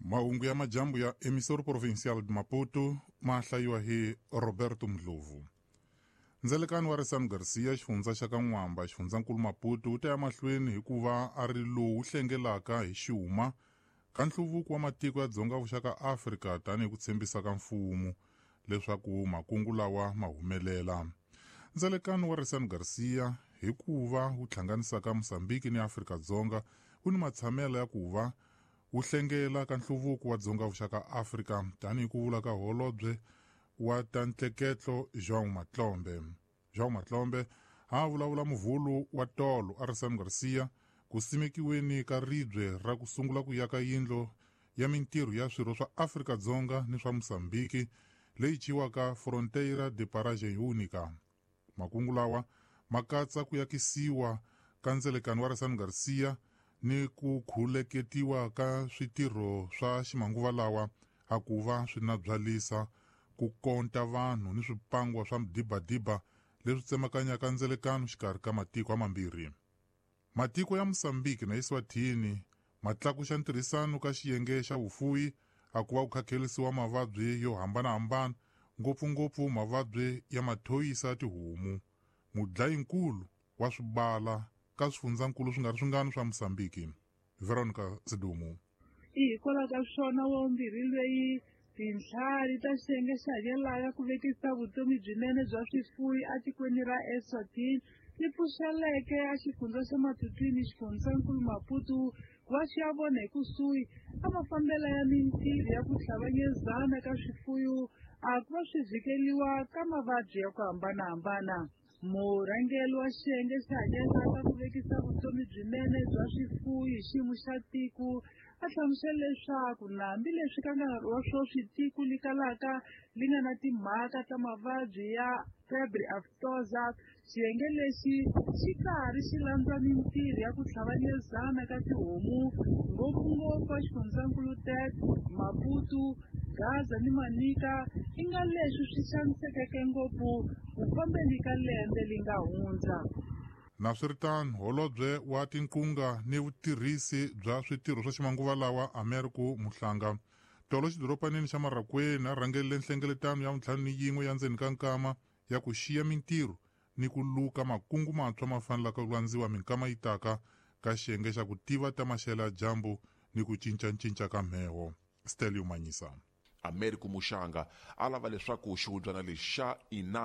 Mahungu ya majambu ya Emissora Provincial de Maputo ma hlayiwa hi Roberto Ndlovu. Ndzelekani wa Resani Garcia, xifundza xa ka N'wamba, xifundzankulu Maputo, wu ta ya mahlweni hikuva a ri lowu hlengelaka hi xuma ka nhluvuko wa matiko ya Dzonga Vuxa Afrika tanihi ku tshembisa ka mfumo leswaku makungu lawa ma humelela. Ndzelekano wa Resani Garcia hikuva wu hlanganisaka Mozambique ni Afrika-Dzonga wu ni matshamelo ya ku va wu hlengela ka nhluvuko wa Dzonga Vuxa Afrika tanihi ku vula ka holobye wa ta ntleketlo João Matlombe. João Matlombe a vulavula muvhulu wa tolo a Resani Garcia ku simekiweni ka ribye ra ku sungula ku yaka yindlo ya mintirho ya swirho swa Afrika-Dzonga ni swa Mozambique leyi ciwaka Fronteira de Paragem Única. Makungu lawa ma katsa ku yakisiwa ka ndzelekano wa Resani Garcia ni ku khuleketiwa ka switirho swa ximanguva lawa a ku va swi na byalisa ku konta vanhu ni swipangwa swa midibadiba leswi tsemakanyaka ndzelekano xikarhi ka matiko amambirhi. Matiko ya Mozambique na Eswatini ma tlakuxa ntirhisano ka xiyenge xa vufuwi a ku va ku khakhelisiwa mavabyi yo hambanahambana, ngopfungopfu mavabyi ya mathoyisa ya tihomu, mudlayinkulu wa swibala ka swifundzankulu swi nga ri swingani swa Mozambique. Veronica Sidumu. Hikwalaho ka swona wa vumbirhi loyi tintlhari ta xiyenge xa hakelaka ku vekisa vutomi byinene bya swifuwi etikweni ra Eswatini ti pfuxeleke a xifundza xa Matutuini xifundzankulu Maputo ku va xi ya vona hi kusuhi a mafambelo ya mintirho ya ku hlanganyezana ka swifuwo a ku va swi vhikeliwa ka mavabyi ya ku hambanahambana. Murhangeri wa xiyenge xa hakelaka ku vekisa vutomi byinene bya swifuwo hi xiyimo xa tiko a hlamusela leswaku na hambileswi ka nkarhi wa sweswi tiko li kalaka li nga na timhaka ta mavabyi ya febre aftosa, xiyenge lexi xi karhi xi landza mintirho ya ku hlanganyezana ka tihomu ngopfungopfu a xifundzankulu Tete, Maputo, Gaza ni Manica i nga leswi swi xanisekeke ngopfu ku fambeni ka lembe li nga hundza. Naswiritano, holobye wa tinqunga ni vutirhisi bya switirho swa ximanguva lawa Americo Muhlanga tolo xidoropanini xa Marracuene a rhangelele nhlengeletano ya 51 ya ndzeni ka nkama ya ku xiya mintirho ni ku luka makungu mantshwa ma fanelaka ku landziwa minkama yi taka ka xiyenge xa ku tiva ta maxelo ya dyambu ni ku cincacinca ka mheho. Stelio Manyisa. Americo Muxanga a lava leswaku xihundzwana lexi xa Inam